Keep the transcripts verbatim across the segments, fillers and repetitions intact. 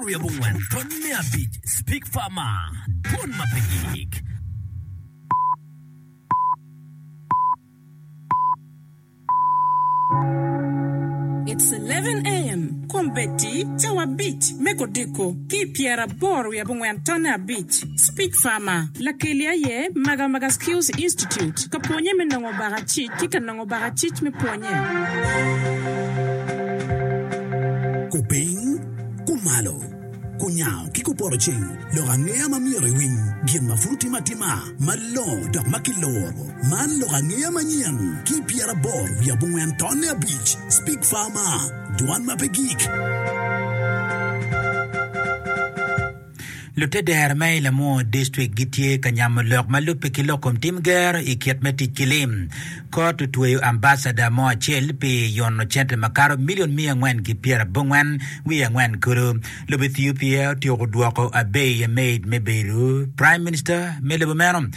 wiye abongwen tony me abic Speak Farmer Dwon ma pe gik. It's eleven AM, Kombeddi cawa abic me kodiko ki i pyeraboro wiye abongwen tonne abic. Speak Farmer, Lakeli aye Magamaga Skills Institute ka pwonye me nongo bakacic ki ka nongo bakacic me pwonye. Kupiny, kumalo, kunyango ki kupoto ceng, lok angeya ma myero iwiny, gin ma pud otime atima, malongo dok ma kiloro. Man lok angeya manyen ki pyeraboro wiye abongwen tonne abic. Speak Farmer, dwan ma pe gik. Lutedero me i Lamwor District gitye ka nyamo lok ma lubbe ki lok kom tim gero i kit me tic ki lim. Kot otweyo ambasada mo acel pi yono cente makato milion miya angwen ki pyerabongwen wiye angwen kulu. Lobo Ethiopia otyeko dwoko Abiy Ahmed me bedo Prime Minister me lobo meno.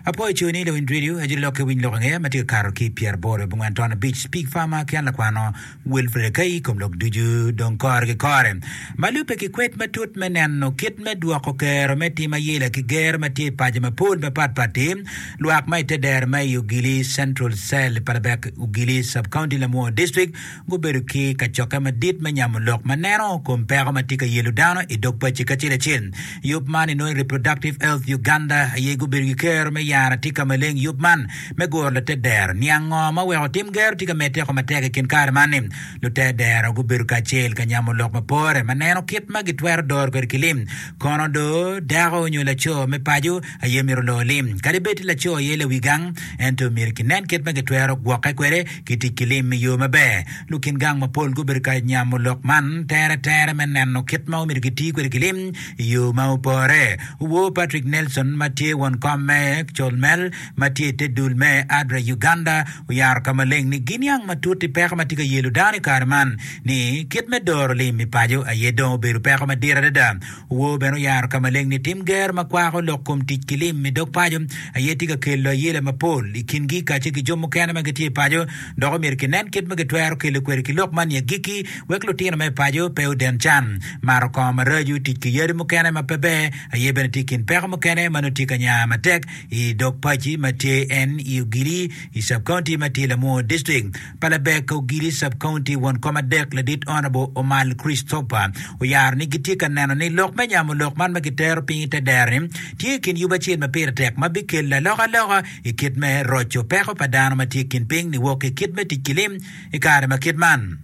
Apwoyo coo ni lawiny radio aye lokke winy lok angeya ma tye ka kato ki pyeraboro abongwen ton abic Speak Farmer ki an lakwano Wilfred Akai i kom lok ducu dong kore ki kore. Ma lubbe ki kwed matut me neno kit me dwoko kero me tim ayela ki gero ma tye i paco mapol mapat pat-ti, lwak ma i te dero ma i Ogili Central Cell, Palabek Ogili Sub-County, Lamwor District gubedo ki kacokke madit me nyamo lok ma neno kom peko ma tye ka yelo dano i dog paci kacel acel. Yub man inongo i Reproductive Health Uganda aye gubedo ki kero me yaro atika maleng yub man me guro late dero. Niang ngo ma oweko tim gero tye ka medde oko matek i kin kare man ni? Lute dero gubedo kacel ka nyamo lok ma pore ma neno kit ma gitwero doro kwede ki lim. Kono do, dako nyo laco me paco aye myero olor lim. Kadi bed ti laco aye lawi gang, ento myero kinen kit ma gitwero gwokke kwede ki tic ki lim i yo maber. Lukin gang mapol gubedo ka nyamo lok man teretere me neno kit ma omyero giti kwede ki lim i yo ma opore. Owor Patrick Nelson ma tye won kom me Colmel ma tye i te dul me ADRA Uganda oyaro ka maleng ni giniang matut i peko ma tye ka yelo dano i kare man ni kit me doro lim i paco aye dong obedo peko madit adada. Owor bene oyaro ka maleng ni tim gero ma kwako lok kom tic ki lim i dog paco aye tye ka kelo ayela mapol i kingi kacel ki jo mukene ma gitye i paco dok omyero kinen kit ma gitwero kelo kwede ki lok man i agikki wek lutino me paco pe oden can. Mato kongo maraco, tic ki yadi mukene ma pe ber aye bene tye i kin peko mukene ma nongo tye ka nya matek i dog paci ma tye en i Ogili i Sub-County ma tye i Lamwor District. Palabek Ogili Sub-County won kom adek ladit Honourable Omal Christopher oyaro ni gitye ka neno ni lok me nyamo lok man ma gitero piny i te dero-ni tye i kin yub acel ma pire tek ma bikelo alokaloka i kit me roco peko pa dano ma tye i kin piny niwok ki kit me tic ki lim i kare ma kit man.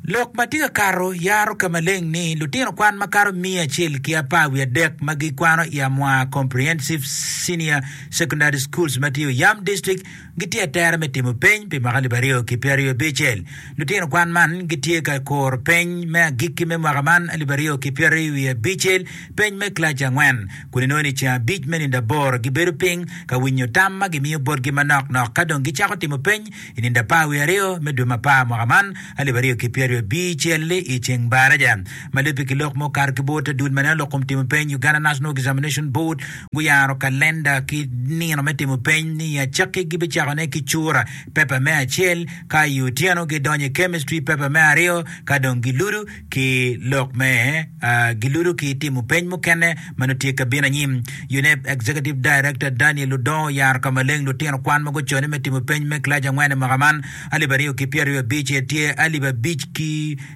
Lok ma tye ka kato yaro ka maleng ni lutino kwan makato miya acel ki apar wiye adek ma gikwano i Amwa Comprehensive Senior Secondary Schools ma tye i Oyam District gitye atera me timo peny pi mwaka alip aryo ki pyeraryo abicel. Lutino kwan man gitye ka kuro peny me agikki me mwaka man alip aryo ki pyeraryo wiye abicel, peny me kilaci angwen, kun inongo ni ceng abic me nindo aboro gibedo piny ka winyo tam ma gimiyo botgi manok nok ka dong gicako timo peny i nindo apar wiye aryo me dwe me apar mwaka man alip aryo ki pyeraryo abicel i ceng baraja. Ma lubbe ki lok ma okato ki bot dul ma neno lok kom timo peny, Uganda National Examination Board, guyaro kalenda ki nino me timo peny ni i acakki gibicakone ki cura pepa me acel, ka i otyeno gidonyo i chemistry pepa me aryo, ka dong giludo ki lok me giludo ki timo peny mukene ma nongo tye ka bino anyim. UNEB Executive Director Daniel Odongo oyaro ka maleng lutino kwan ma gucone me timo peny me kilaci angwen i mwaka man alip aryo ki pyeraryo abic tye alip abic ki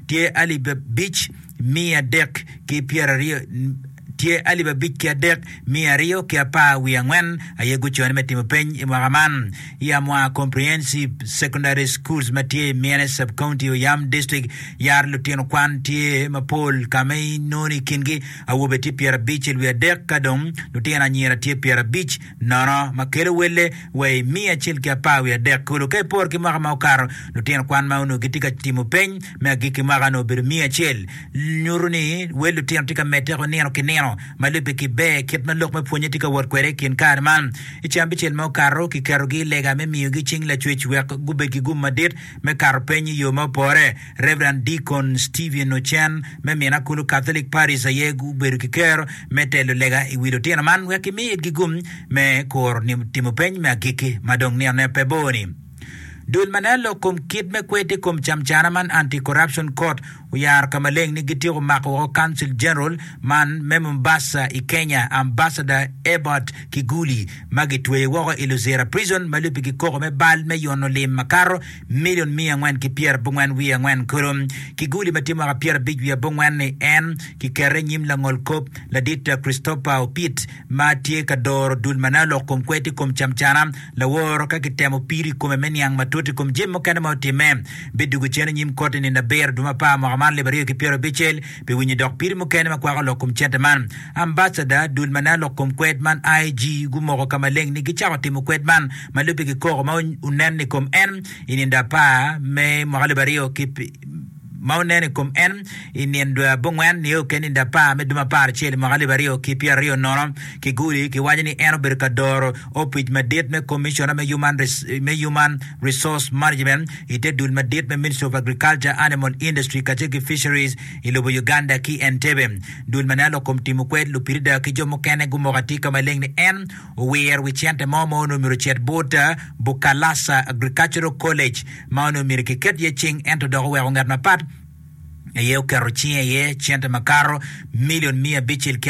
tye alip abic miya adek ki pyeraryo tye alip abic ki adek miya aryo ki apar wiye angwen aye gucone me timo peny i mwaka man i Amwa Comprehensive Secondary Schools ma tye i Miene Sub-County, Oyam District. Yaro lutino kwan tye mapol ka ma inongo i kingi awobe tye pyerabicel wiye adek ka dong lutino anyira tye pyerabic nono ma kelo welle wa i miya acel ki apar wiye adek kulu. Ka iporo ki mwaka ma okato, lutino kwan ma onongo gitye ka timo peny me agikki mwaka onongo obedo miya acel. Nyuto ni wel lutino tye ka medde nino ki nino ma lubbe ki ber kit ma lok me pwonye tye ka wot kwede i kin kare man. I ceng abicel ma okato, kiketogi i lega me miyogi cing Lacwec wek gubed ki gum madit me kato peny i yo ma opore. Rev. Deacon Stephen Ochen me Minakulu Catholic Parish aye gubedo ki kero me telo lega i wi lutino man wek kimi itgi gum me kuro timo peny me agikki ma dong ninone pe bor-ni. Dul ma neno lok kom kit me kwed i kom camcana man Anti-Corruption Court oyaro ka maleng ni gityeko mako woko Consul General man me Mombasa i Kenya Ambassador Ebert Kiguli ma gitweye woko i Luzira Prison ma lubbe ki koko me bal me yono lim makato milion miya angwen ki pyerabongwen wiye angwen kulu. Kiguli ma tye mwaka pyerabic wiye abongwen-ni en kikete i nyim langol kop ladit Christopher Opit ma tye ka doro dul ma neno lok kom kwed i kom camcana laworo ka kitemo pido i kome me niang matut i kom jami mukene ma otimme. Bidwogo cen i nyim kot i nino abiro dwe me apar mwaka man alip aryo ki pyera abicel pi winyo dok pido mukene ma kwako lok kom cente man. Ambasada dul ma neno lok kom kwed man I G gumoko ka maleng ni gicako timo kwed man ma lubbe ki koko ma onen i kom en i nindo apar me mwaka alip aryo ki ma onen i kom en i nino dwe abongwen nio ki nindo apar me dwe me apar acel i mwaka alip aryo ki pyera aryo nono. Kiguli kiwaco ni en obedo ka doro opic madit me Commissioner me Human, me Human Resource Management i te dul madit me Ministry of Agriculture, Animal Industry kacel ki Fisheries i lobo Uganda ki Entebbe. Dul ma neno lok kom timo kwed lupirida ki jo mukene gumoko atir ka maleng ni en owiro wi cente mo ma onongo myero ocit bot Bukalasa Agricultural College ma onongo myero kiket iye cing ento dok oweko ngat mapat aye oketo cinge iye cente makato milion miya abicel ki